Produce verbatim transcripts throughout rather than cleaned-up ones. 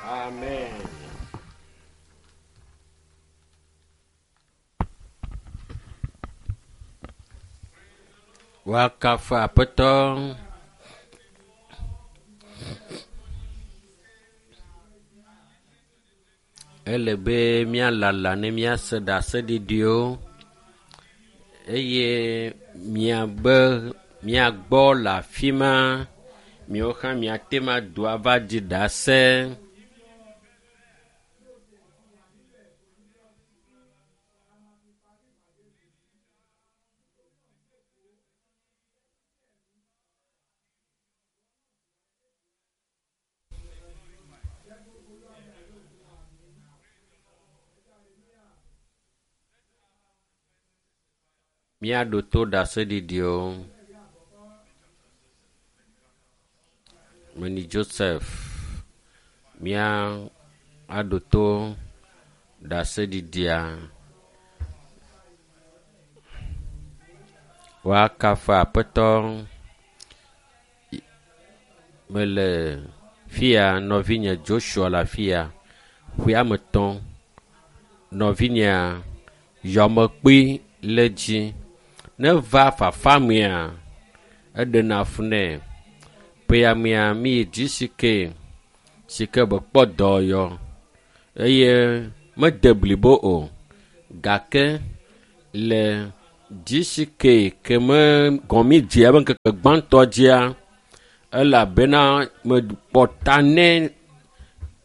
Amen. Woakafu Aƒetɔ. Ele be míalala ne míase ɖaseɖiɖiwo eye miabe miagbɔ le afi ma. Miawo hã miate ŋu ado ava ɖi ɖase. Míaɖo to ɖaseɖiɖiwo. Meni Joseph, mía aɖo to ɖaseɖiɖia. Woakafu Aƒetɔ. Mele fia nɔvinye Joshua le afia. Ƒe ame etɔ̃. Nɔvinyea yɔmekpui le dzi. Ne va fafa mea, eɖena fu nɛ. Ƒea mea mi yi GCK si ke be kpɔ dɔyɔ eye mede blibo o gake le GCK ke me gɔmi dzea be ŋkeke gbãtɔ dzia elabena mekpɔ ta nɛ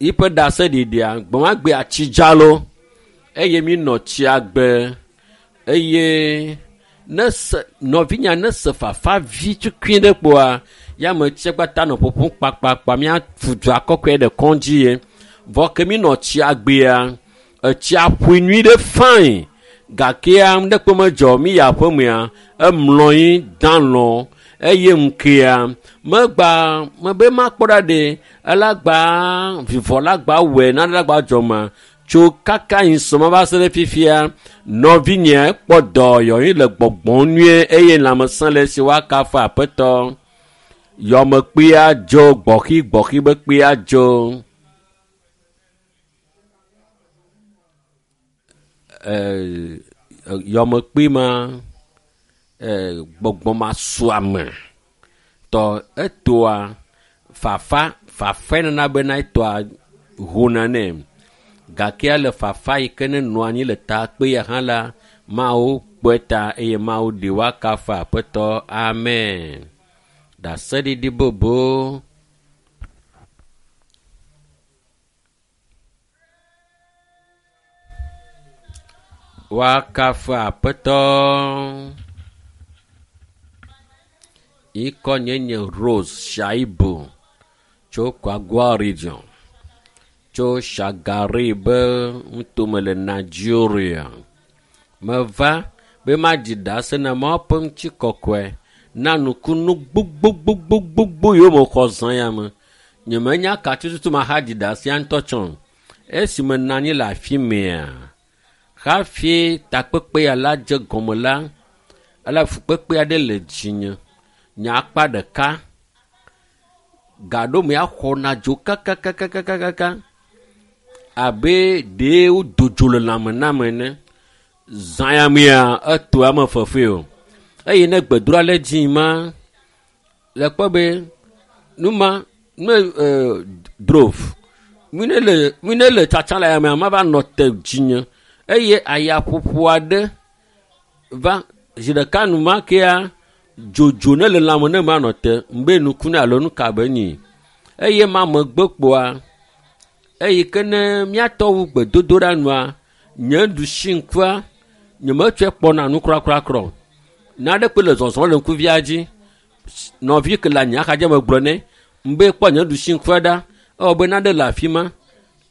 yiƒe ɖaseɖiɖia gbemagbea tsi dza lo eye mi nɔ tsia gbe eye ne se nɔvinya ne se fafa vi tukui ɖe kpoa ya me tsia kpata nɔ ƒoƒom kpakpakpa míafu dua kɔkɔe ɖe kɔdzi ye. Vɔ ke mi nɔ tsia gbea, etsia ƒoe nyui ɖe fain gakea nuɖekpe medzɔ mi yi aƒemea emlɔ anyi da lɔ eye ŋkea megba mebe makpɔ ɖa ɖe ela gba vivɔ la gba wɔe nane la gba dzɔ ma tso kaka yi sɔma va se ɖe fifia nɔvinye kpɔ dɔyɔyi le gbɔgbɔm nyuie eye lãmesẽ le esi woakafu Aƒetɔ. Yɔmekpea dzo gbɔxigbɔxi be kpea dzo. Ee, yɔmekpui ma ee, gbɔgbɔmasuame tɔ etoa fafa fafa nana bena etoa hona nɛ gake le fafa yi ke ne nɔ anyi le takpe ya hã la Mawu kpɔe ta eye Mawu ɖi woakafu Aƒetɔ. Amen. Ɖaseɖiɖi bobo. Woakafu Aƒetɔ. Ŋkɔ nye nye Rose Shaibu tso Kwagua region tso Shagari be ŋutome le Nigeria. Meva be maɖi ɖase na Mawu ƒe ŋutikɔkɔe na nukunu gbogbogbogbogbogbo yiwo mexɔ zã ya me. Nyemenya ka tututu mahaɖi ɖasea ŋutɔ tsɔ o. Esi menɔ anyi le afi mea, hafi takpekpe ya la dze gɔme la, ele fukpekpe aɖe le dzinye. Nye akpa ɖeka gaɖomea xɔna dzo kakakakakaka abe ɖee wodo dzo le lãme nam ene. Zã ya mea eto ame fefe o. Eye ne gbedoɖa le dzi ma, le kpɔ be nu ma ne e, drove mi ne le mi ne le tsatsa le yamea mava nɔ te dzinye eye ayaƒoƒo aɖe va zi ɖeka nu ma kea dzodzo ne le lãme ne manɔ te ŋbe nuku ne alo nu ka be nyi eye ma megbe kpoa eyi ke ne míatɔ wu gbedodoɖa nua nye ɖusi ŋkua nyemetsɔe kpɔna nu krakrakra o. Nane kpe le zɔzɔm le ŋkuvia dzi nɔvi ke le anyi axadzi me gblɔ nɛ ŋbe kpɔ nye ɖusi ŋkua ɖa ewɔ be nane le afi ma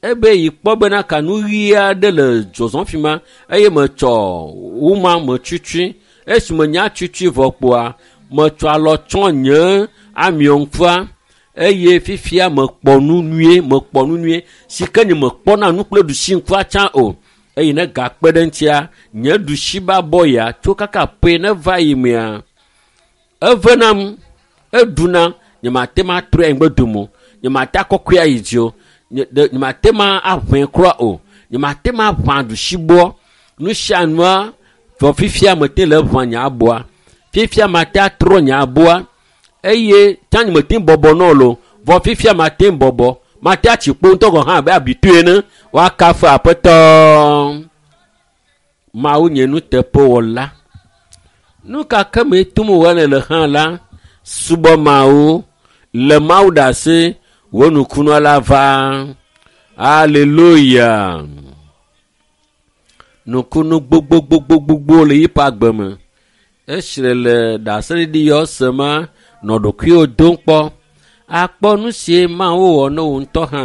ebe yi kpɔ bena ka nu ɣi aɖe le zɔzɔm fi ma eye metsɔ woma metsutsui esi menya tsutsui vɔ kpoa metsɔ alɔ tsɔ nye amio ŋkua eye fifia mekpɔ nu nyuie mekpɔ nu nyuie si ke nye mekpɔna nu kple ɖusi ŋkua tsã o eye ne gakpe ɖe ŋutia nye ɖusi ba bɔ ya tso kaka ƒe ne va yi mea evenam eɖuna nyemate ŋu atrɔe anyigbe dome o nyemate akɔkɔe ayi dzi o Nye mate ma aʋẽ kura o. Nye mate ma ʋã ɖusibɔ. Nu sia nua vɔ fifia mete le ʋã nye aboa. Fifia mate atrɔ nye aboa. Eye tsã nye mete bɔbɔ nɔ lo. Vɔ fifia mate bɔbɔ. Mate atsi kpo ŋutɔ gɔ̃ hã abe abitue ene. Woakafu Aƒetɔ. Mawu nye nuteƒewɔla. Nu ka ke me tom wòle le hã la, subɔ Mawu, le Mawu ɖe asi, wò nukunua la va. Aleluya. Nukunu gbogbogbogbogbogbo le yiƒe agbe me. Esi le ɖaseɖiɖi yɔ se ma, nɔ ɖokuiwò dom kpɔ. Akpɔ nu si Mawu wɔ ne wò ŋutɔ hã.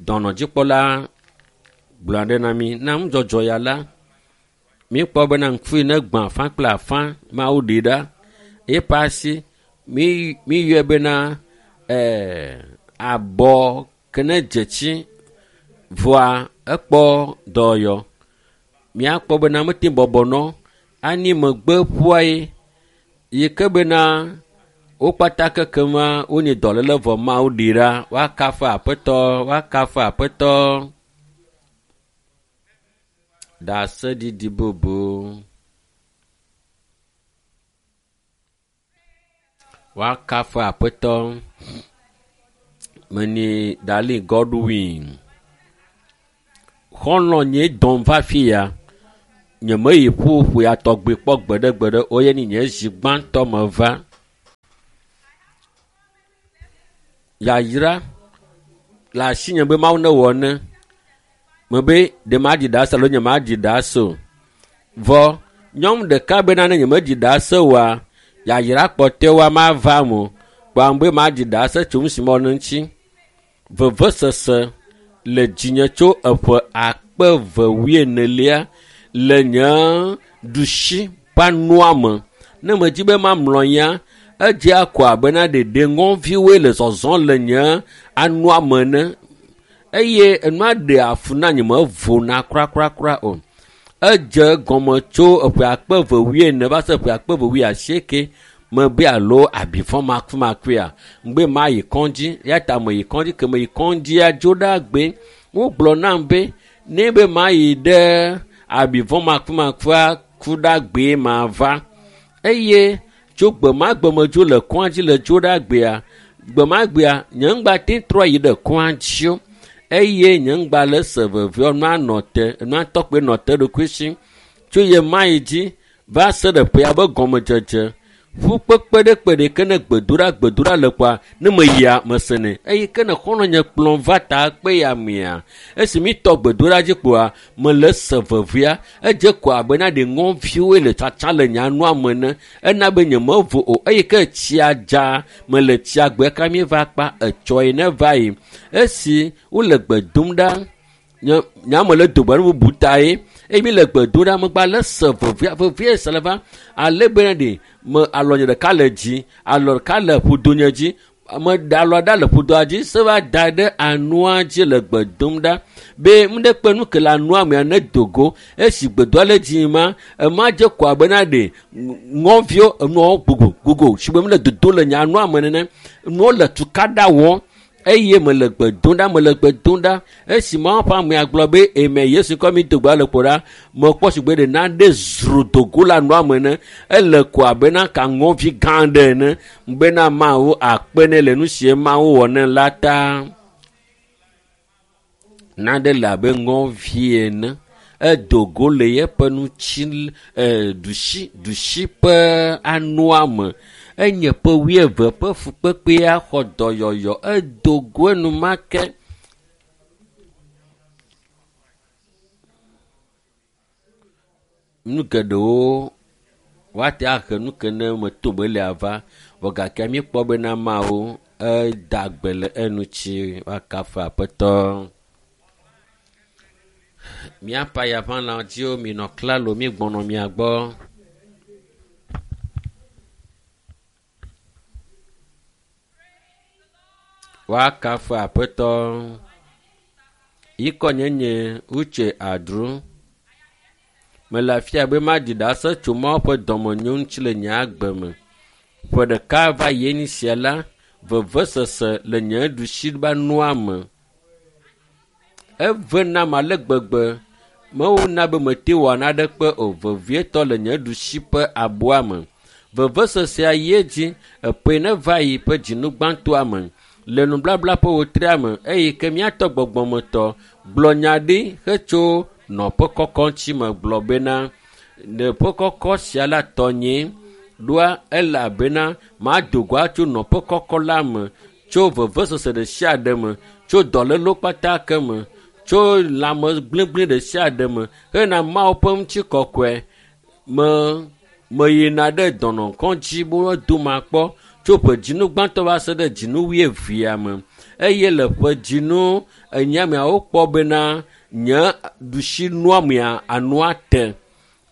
Dɔnɔdzikpɔla gblɔ ɖe na mi na nudzɔdzɔ ya la. Míekpɔ bena ŋku yi ne gbã afã kple afã Mawu ɖi ɖa. Eƒe asi mi miyɔe bena ɛɛ abɔ ke ne dze tsi vɔa ekpɔ dɔyɔ. Míakpɔ bena mete bɔbɔ nɔ ani megbe ƒua ye yi ke bena wo kpata kekema wonye dɔléle vɔ Mawu ɖi ɖa. Woakafu Aƒetɔ, woakafu Aƒetɔ. Ɖaseɖiɖi bubu. Woakafu Aƒetɔ. Meni Dali Godwin. Xɔlɔ̃ nye dɔm va fi ya. Nye meyi ƒuƒu ya tɔgbi kpɔ gbeɖegbeɖe o ye ni nye zi gbãtɔ me va. Yayra le asinye be Mawu newɔ ne. Mebe ɖe maɖi ɖase alo nye maɖi ɖase o. Vɔ nyɔnu ɖeka bena ne nye meɖi ɖase oa, yayra kpɔtɔewoa mava eme o. Kpɔa be maɖi ɖase tso nu si mewɔ ne ŋuti. Vevesese le dzinye tso eƒe akpe eve wuienelia le nye ɖusi ƒe anua me. Ne medzi be mamlɔ ya, edze akɔ abe na ɖeɖe ŋɔviwoe le zɔzɔm le nye anua me ene. Eye enua ɖe afu na nye mevona kurakura o. Edze gɔme tso eƒe akpe eve wuiene va se eƒe akpe eve wuiasieke mebe alo abifɔ makumakuia. Ŋgbe mayi kɔdzi ya ta meyi kɔdzi ke meyi kɔdzia dzo ɖe agbe. Wogblɔ nam be ne be mayi ɖe abifɔ makumakua ku ɖe agbee mava. Eye tso gbe ma gbe me dzo le kɔdzi le dzo ɖe agbea. Gbe ma gbea nye ŋgba te trɔ yi ɖe kɔdzi o. Eye nye ŋgba le se vevie nua nɔ te nua tɔkpe nɔ te ɖokui si. Tso ye ma yi dzi va se ɖe ƒea be gɔmedzedze. Ƒu kpekpe ɖe kpe ɖe ke ne gbedoɖa gbedoɖa le kɔa ne meyia mesenɛ. Eye ke ne xɔlɔ̃ nye kplɔm va ta kpe ya mea esi mi tɔ gbedoɖa dzi kpoa mele se vevia edze kɔ abe na ɖe ŋɔviwoe le tsatsa le nye anua me ene. Ena be nye mevo o. Eye ke tsia dza mele tsia gbe ka mi va kpa etsɔ yi ne va yi. Esi wole gbe dom ɖa nye nye ame le do gbe ɖe bubu ta ye. Eye mi le gbe dom ɖa megba le se vevia vevie se le va ale bena ɖe me alɔ nye ɖeka le dzi alɔ ɖeka le ƒodo nye dzi me ɖe alɔ ɖa le ƒodoa dzi se va da ɖe anua dzi le gbe dom ɖa be nu ɖe kpe nu ke le anua mea ne do go esi gbedoa le dzi ma ema dze kɔ abe na ɖe ŋɔviwo enuawo gogo gogo si be mi le dodo le nye anua me nene nuwo le tukaɖa wɔm eye mele gbe dom ɖa mele gbe dom ɖa esi Mawu ƒe amea gblɔ be eme Yesu kɔ mi do gbe le kpo ɖa mekpɔ si gbe ɖe naɖe zro dogo le anua me ene ele ko abe na ka ŋɔvi gã aɖe ene bena Mawu akpe ne le nu si Mawu wɔ ne la ta. Naɖe le abe ŋɔvi ene edo go le yeƒe nutsi e ɖusi ɖusi ƒe anua me. Enye ƒe wuieve ƒe fukpekpea xɔ dɔyɔyɔ edo go enumake. Nu geɖewo woate ahe nu ke ne meto be lia va vɔ gake míekpɔ bena Mawu eda gbe le eŋuti woakafu Aƒetɔ. Míaƒe ayaʋãlã dziwo minɔ klalo míegbɔnɔ mia gbɔ. Woakafu Aƒetɔ. Yikɔ nye nye Uche Adru. Mele afia be maɖi ɖase tso Mawu ƒe dɔmenyo ŋuti le nye agbe me. Ƒe ɖeka va yi sia la, vevesese le nye ɖusi be anua me. Eve nam ale gbegbe. Mewona be mete wɔ naɖekpe o, vevietɔ le nye ɖusi ƒe aboa me. Vevesesea yi edzi eƒe ne va yi ƒe dzinu gbãtɔa me le nublabla ƒe wotria me eye ke míatɔ gbɔgbɔmetɔ gblɔ nya ɖi hetso nɔƒe kɔkɔ ŋuti me gblɔ bena nɔƒe kɔkɔ sia la tɔnyee ɖoa elabena mado go atso nɔƒe kɔkɔ la me tso vevesese ɖe sia ɖe me, tso dɔlélewo kpata ke me, tso lãme gblegble ɖe sia ɖe me hena Mawu ƒe ŋutikɔkɔe. Me meyina ɖe dɔnɔkɔdzi be woado makpɔ tso ƒe dzinu gbãtɔ va se ɖe dzinu wuievea me eye le ƒe dzinu enyia mea wokpɔ bena nye ɖusi nua mea anua te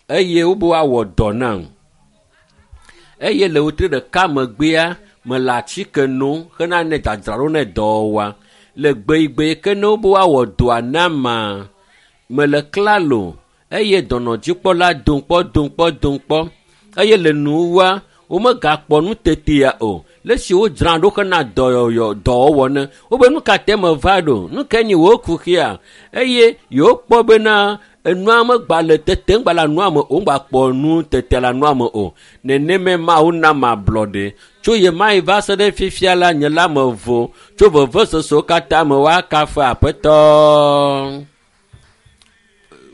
eye wobe woawɔ dɔ nam. Eye le wotri ɖeka megbea mele atike nom hena ne dzadzraɖo ne dɔwɔwɔa. Le gbeyigbe yi ke ne wobe woawɔ dɔa nama, mele klalo eye dɔnɔdzikpɔla dom kpɔ dom kpɔ dom kpɔ eye le nuwua womegakpɔ nu tetea o. Le esi wodzra ɖo hena dɔyɔyɔ dɔwɔwɔ ne wobe nu ka te meva ɖo nu ke nyi wo kuxia eye yewokpɔ bena enua megba le tetem gba le anua me o ŋgba nu tete le anua me o. Neneme Mawu na ablɔɖe tso ye ma yi va se ɖe fifia la nye la me vo tso vevesesewo katã me woakafu Aƒetɔ.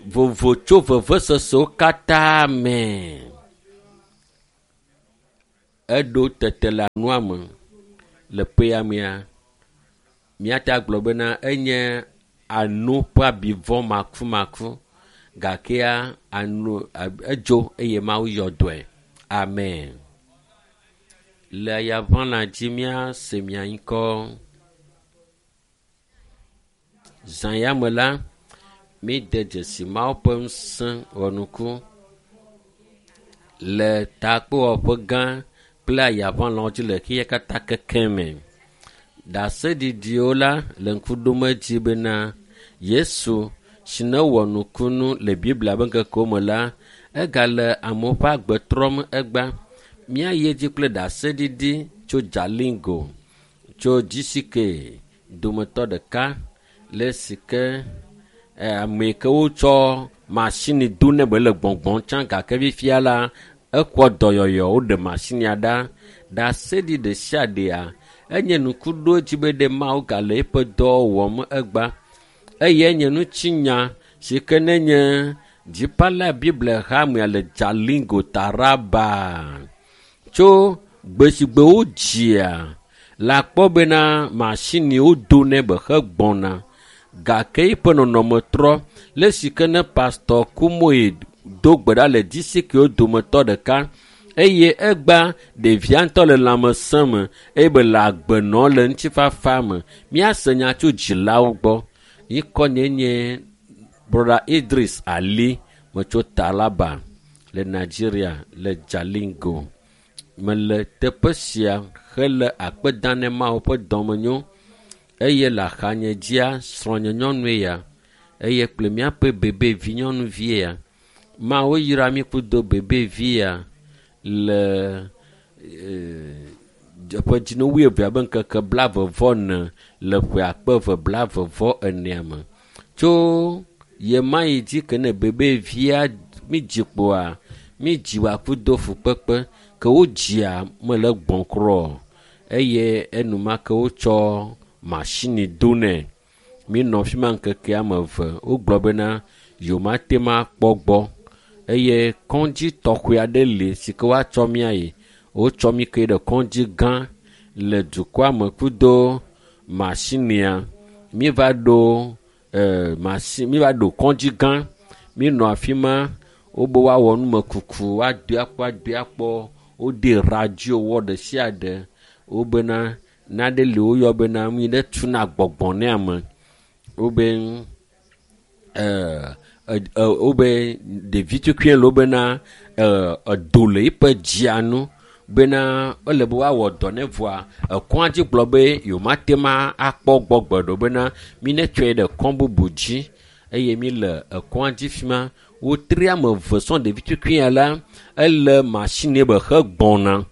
Vovo tso vevesesewo katã me. Eɖo tete le anua me le ƒea mea. Míate agblɔ bena enye anu ƒe abivɔ makumaku gakea anu edzo eye Mawu yɔ dɔe. Amen. Le yaʋãla dzi míase mia ŋkɔ. Zã ya me la, míde dzesi Mawu ƒe ŋusẽ wɔnuku le takpewɔƒe gã kple ayaʋãlawo dzi le xexea katã keke me. Ɖaseɖiɖiwo la le ŋku ɖom edzi bena Yesu si ne wɔ nukunu le Biblia ƒe ŋkekewo me la, egale amewo ƒe agbe trɔm egbea. Míayi edzi kple ɖaseɖiɖi tso Jalingo, tso G C K dometɔ ɖeka le si ke ame yi ke wotsɔ masini do ne be le gbɔngbɔm tsã gake fifia la ekɔ dɔyɔyɔ woɖe masinia ɖa. Ɖaseɖi ɖe sia ɖea enye nukuɖodzi be ɖe Mawu gale eƒe dɔ wɔm egbea eye enye ŋutinya si ke nenye Dzipala Biblia hamea le Jalingo Taraba. Tso gbe si gbe wodzia le akpɔ bena masiniwo do nɛ be hegbɔna gake eƒe nɔnɔme trɔ le si ke ne Pastor Kumoe do gbe ɖa le D C K wo dometɔ ɖeka eye egbea ɖevia ŋutɔ le lãmesẽ me eye be le agbe nɔm le ŋutifafa me. Míase nya tso dzilawo gbɔ. Ŋkɔ nye nye Brother Idris Ali metso Taraba le Nigeria le Jalingo. Mele teƒe sia hele akpe dam ne Mawu ƒe dɔmenyo eye le axanye dzia srɔ̃nye nyɔnue ya eye kple míaƒe bebevi nyɔnuvie ya. Mawu yra mí kudo bebevi ya le ƒe dzinu wuievea ƒe ŋkeke blaeve vɔ ene le ƒe akpe eve blaeve vɔ enea me. Tso ye ma yi dzi ke ne bebevia mídzi kpoa mídzi wòakudo fukpekpe ke wodzia mele gbɔ̃ kura o eye enumake wotsɔ masini do nɛ. Míenɔ afi ma ŋkeke ame eve wogblɔ bena yewomate ŋu akpɔ gbɔ eye kɔdzi tɔxɛ aɖe li si ke woatsɔ mí ayi. Wotsɔ mí ke ɖe kɔdzi gã le dukɔa me kudo masinia. Míeva ɖo e masi míeva ɖo kɔdzi gã. Míenɔ afi ma wobe woawɔ numekuku woadoe akpɔ adoe akpɔ. Wode radio wɔ ɖe sia ɖe. Wobena nane li woyɔ bena nu yi ne tuna gbɔgbɔ ne ame. Wobe e wobe ɖevi tukui le wobena edo le eƒe dzia nu bena ele be woawɔ dɔ ne vɔa ekɔa dzi gblɔ be yewomate ŋu akpɔ gbɔ gbe ɖe o bena mi ne tsɔe ɖe kɔ bubu dzi eye mi le ekɔa dzi fi ma. Wotri ame eve sɔŋ ɖevi tukui ya la ele masini be hegbɔna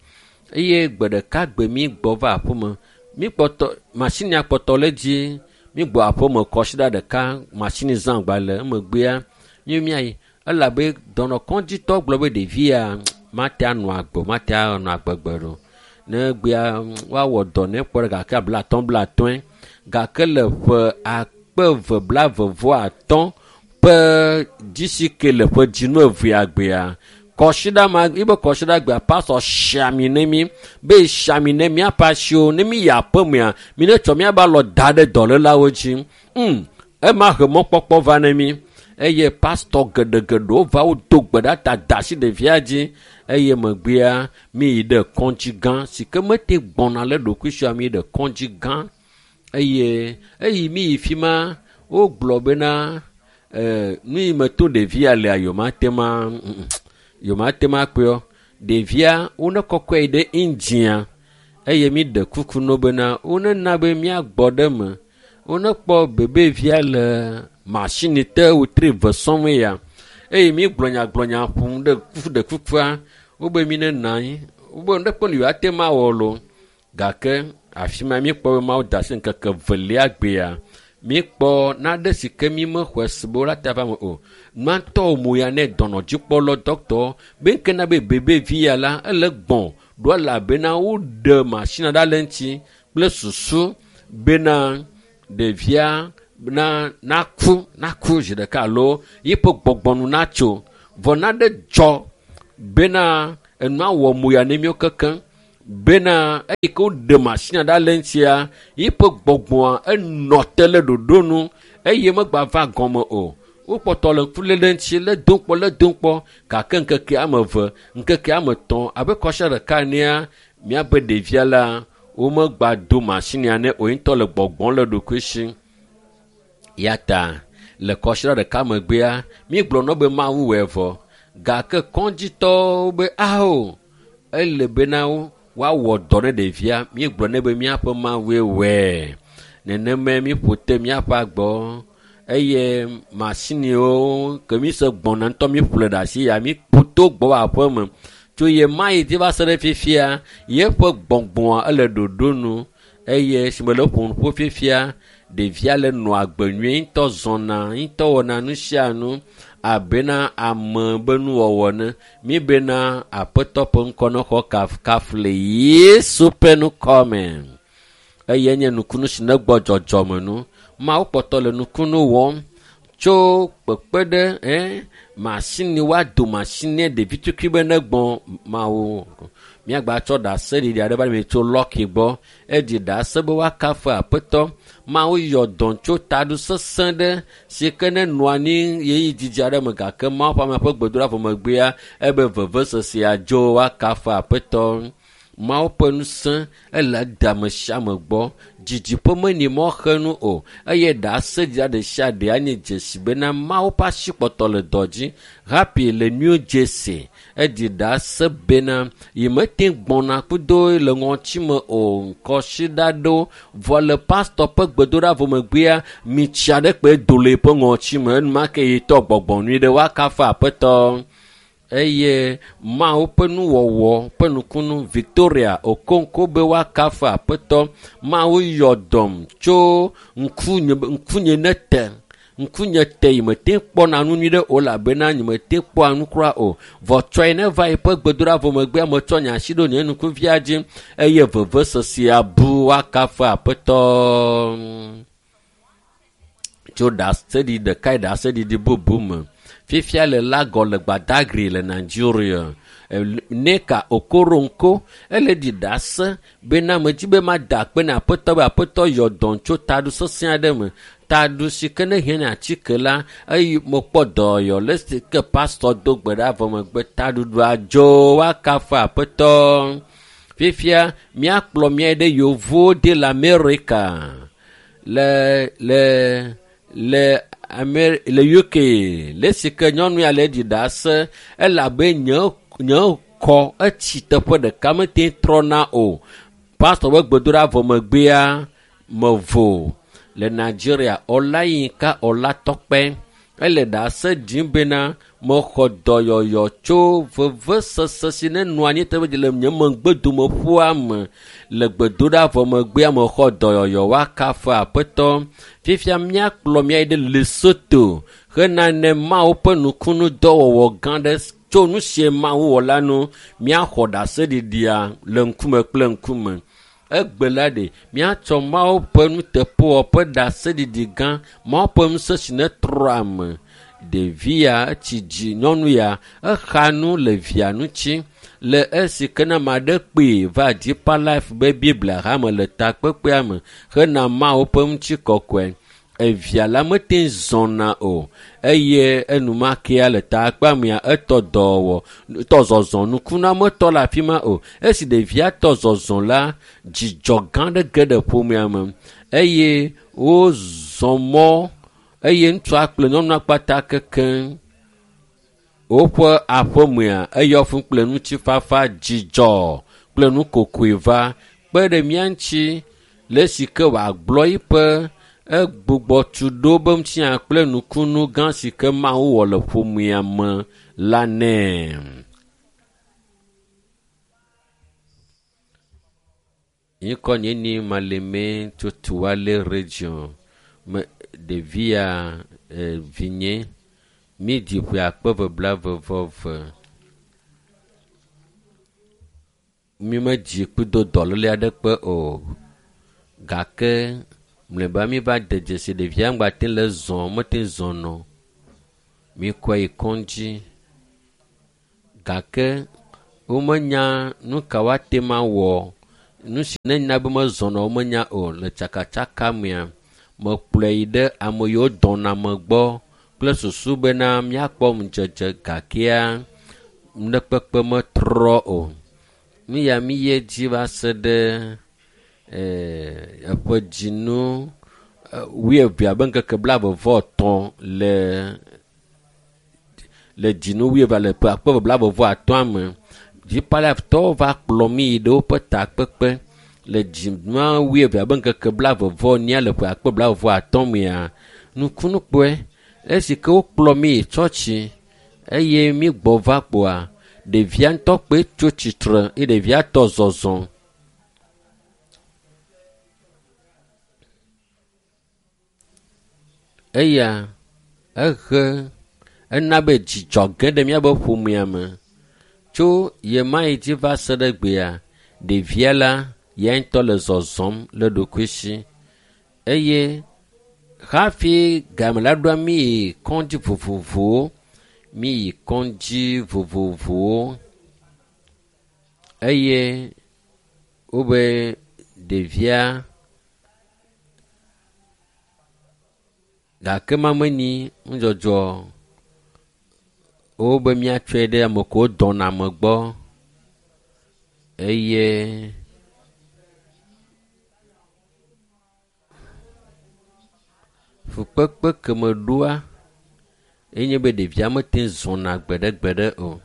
eye gbe ɖeka gbe mi gbɔ va aƒeme mi kpɔtɔ masinia kpɔtɔ le dzi Mi gbɔ aƒeme kɔsiɖa ɖeka masini zã gbalẽ emegbea mi miayi elabe dɔnɔkɔdzitɔ gblɔ be ɖevia mate anɔ agbe o, mate anɔ agbegbe ɖo. Ne gbea woawɔ dɔ ne kpɔ ɖe gake blatɔ̃ blatɔ̃e gake le ƒe akpe eve blaeve vɔ atɔ̃ ƒe dzisi ke le ƒe dzinu evea gbea kɔsiɖa ma yibe kɔsiɖa gbea pastor siami ne mi be siami ne miaƒe asiwo ne mi yi aƒemea mi ne tsɔ miabe alɔ da ɖe dɔlélawo dzi. Mm, ema he mɔkpɔkpɔ va ne mi eye pastor geɖegeɖewo va wo do gbe ɖa ta da asi ɖevia dzi eye megbea mi yi ɖe kɔdzi gã si ke mete gbɔna le ɖokuisia mi yi ɖe kɔdzi gã eye eyi mi yi fi ma wogblɔ bena eh, nu yi me to ɖevia lea yewomate ma yewomate ma kpeɔ ɖevia wone kɔkɔe yi ɖe India eye mi ɖe kuku no bena wonena be miagbɔ ɖe me wone kpɔ bebevia le masini te wotri ve sɔm ya eye mi gblɔ nya gblɔ nya ƒom ɖe kuku ɖe kukua wobe mi ne nɔ anyi wobe ne kpɔ nu yewoate ma wɔ lo gake afi ma mi kpɔ be Mawu da asi ŋkeke velia gbea mi kpɔ nane si ke mi mexɔe se be wola ta va me o. Nua mo ya ne dɔnɔdzikpɔlɔ dɔkitɔ be ŋke na be bebevi ya la ele gbɔn ɖo elabena woɖe masina ɖa le eŋuti kple susu bena ɖevia na naku naku zi ɖeka alo yiƒe gbɔgbɔnu natso vɔ nane dzɔ bena enua wɔ mo ya ne míwo kekeŋ bena eyi ke woɖe masina ɖa le eŋutia yiƒe gbɔgbɔa enɔ te le ɖoɖo nu eye megba va gɔme o. Wokpɔtɔ le ŋku lé ɖe eŋuti lé dom kpɔ lé dom kpɔ gake ŋkeke ame eve ŋkeke ame etɔ̃ abe kɔsia ɖeka enea míabe ɖevia la womegba do masinia ne o ŋutɔ le gbɔgbɔm le ɖokui si. Ya ta le kɔsiɖa ɖeka megbea mígblɔ nɔ be Mawu wɔe vɔ gake kɔdzitɔwo be ao ele bena woawɔ dɔ ne ɖevia míegblɔ nɛ be míaƒe Mawue wɔe nenemae míƒo te míaƒe agbɔ eye masiniwo ke mi se gbɔna ŋutɔ míƒle ɖe asi ya míƒo to gbɔ va aƒeme tso ye ma yi dzi va se ɖe fifia yeƒe gbɔgbɔa ele ɖoɖo nu eye si me le ƒom ƒo fifia ɖevia le nɔa agbe nyuie ŋutɔ zɔna ŋutɔ wɔna nu sia nu abena ame be nuwɔwɔ ne mi bena aƒetɔ ƒe ŋkɔ ne xɔ kafukafu le Yesu ƒe ŋkɔ me eye nye nukunu si ne gbɔ dzɔdzɔme nu. Mawu kpɔtɔ le nukunu wɔm tso kpekpe ɖe eh, masini woado masini ɖevi tukui be ne gbɔ Mawu. Míagba tsɔ ɖaseɖiɖi aɖe va mi tso lɔki gbɔ eɖi ɖase be woakafu aƒetɔ. Mawu yɔ dɔm tso taɖu sesẽ ɖe si ke ne nɔ anyi ɣeyiɣi didi aɖe me gake Mawu ƒe ame ƒe gbedoɖa vɔ megbea ebe vevesesea dzo woakafu aƒetɔ. Mawu ƒe ŋusẽ ele de ame sia ame gbɔ. Didiƒe meni mɔxenu o eye ɖaseɖiɖa ɖe sia ɖe anye dzesi bena Mawu ƒe asi kpɔtɔ le dɔ dzi. Happy le New Jersey eɖi ɖase bena yi mete gbɔna kudo le ŋɔtime o kɔsiɖa ɖewo vɔ le pastor ƒe gbedoɖa vɔ megbea mitsi aɖe kpe do le eƒe ŋɔtime enumake yi tɔ gbɔgbɔ nyui ɖe woakafu aƒetɔ. Eye Mawu ƒe nuwɔwɔ ƒe nukunu Victoria Okonkwo be woakafu aƒetɔ. Mawu yɔ dɔm tso ŋkunye ŋkunye ne te ŋkunye te yi mete kpɔna nu nyui ɖe o elabena nye mete kpɔa nu kura o. Vɔ tsɔe ne va yiƒe gbedoɖa vɔ megbea metsɔ nye asi ɖo nye nukuvia dzi eye vevesesea bu woakafu aƒetɔ. Tso ɖaseɖiɖi ɖeka yi ɖaseɖiɖi bubu me. Fifia le Lagos le Badagry le Nigeria. Neka Okoronkwo ele ɖi ɖase bena medzi be mada akpe na aƒetɔ be aƒetɔ yɔ dɔm tso taɖu sesẽ aɖe me. Taɖu si ke ne hiã atike la eye mekpɔ dɔyɔ le si ke pastor do gbe ɖa vɔ megbe taɖuɖua dzo woakafu aƒetɔ. Fifia míakplɔ mía ɖe yevuwo de le Amerika le le le Amer le U K le si ke nyɔnu ya le ɖi ɖase elabe nye nye kɔ etsi teƒe ɖeka mete trɔna o. Pastor ƒe gbedoɖa vɔ megbea mevo le Nigeria Olayinka Olatɔkpe Ele ɖase ɖim bena mexɔ dɔyɔyɔ tso vevesese si ne nɔ anyi teƒe dzi le nye megbedome ƒua me. Le gbedoɖa vɔ megbea mexɔ dɔyɔyɔ woakafu aƒetɔ. Fifia míakplɔ mía yi ɖe Lesotho hena ne Mawu ƒe nukunu dɔwɔwɔ gã ɖe tso nu sie Mawu wɔ la nu míaxɔ ɖaseɖiɖia le ŋkume kple ŋkume. Egbe la ɖe míatsɔ Mawu ƒe nuteƒewɔwɔ ƒe ɖaseɖiɖi gã, Mawu ƒe ŋusẽ si ne trɔ ame. Ɖevi ya etsi dzi nyɔnu ya exa nu le via ŋuti le esi ke ne ame aɖe kpee va Deeper Life be Biblia hame le takpekpea me hena Mawu ƒe ŋutikɔkɔe. Evia la mete zɔna o eye enumakea le takpea mea etɔ dɔwɔwɔ tɔ zɔzɔ nukunametɔ le afi ma o. Esi ɖevia tɔ zɔzɔ la dzidzɔ gã ɖe ge ɖe ƒomea me eye wozɔ mɔ eye ŋutsua kple nyɔnua kpata kekeŋ. Woƒe aƒemea eyɔ fũ kple ŋutifafa dzidzɔ kple nukokoe va kpe ɖe mía ŋuti le esi ke wòagblɔ eƒe egbugbɔ tu ɖo be ŋutinya kple nukunu gã si ke Mawu wɔ le ƒomea me la nɛ. Ŋkɔ nye ni Maleme tso Tuale region me ɖevia e, vinye mídzi ƒe akpe eve blaeve vɔ eve. Mi medzi kpudo dɔléle aɖeke o gake mlɔeba mi va de dzesi ɖevia ŋgba te le zɔ mete zɔnɔ. Mikɔe yi kɔdzi gake womenya nu ka woate ma wɔ. Nu si ne nya be mezɔnɔ womenya o le tsakatsaka mea mekplɔe yi ɖe ame yiwo dɔna me gbɔ kple susu bena míakpɔ ŋudzedze gakea nuɖekpekpe metrɔ o. Nu ya mi yi edzi va se ɖe eƒe dzinu wuieve abe ŋkeke blaeve vɔ etɔ̃ le le dzinu wuieve le ƒe akpe eve blaeve vɔ atɔ̃a me. Deeper Life tɔwo va kplɔ mí yi ɖe woƒe takpekpe le dzinua wuieve abe ŋkeke blaeve vɔ enyia le ƒe akpe blaeve vɔ atɔ̃ mea nukunukpɔe esi ke wokplɔ mí yi tsɔtsi eye mí gbɔ va kpoa ɖevia ŋutɔ kpe tso tsitre eye ɖevia tɔ zɔzɔ. Eya ehe ena be dzidzɔ ge ɖe míaƒe ƒomea me. Tso ɣemaɣi dzi va se ɖe gbea, ɖevia la ya ŋutɔ le zɔzɔm le ɖokui si eye hafi game la ɖoa mí yi kɔdzi vovovowo, mí yi kɔdzi vovovowo eye wobe ɖevia gake mamenyi nudzɔdzɔ wobe míatsɔe ɖe ame kewo dɔna ame gbɔ eye fukpekpe ke me ɖoa enye be ɖevia mete zɔna gbeɖegbeɖe o.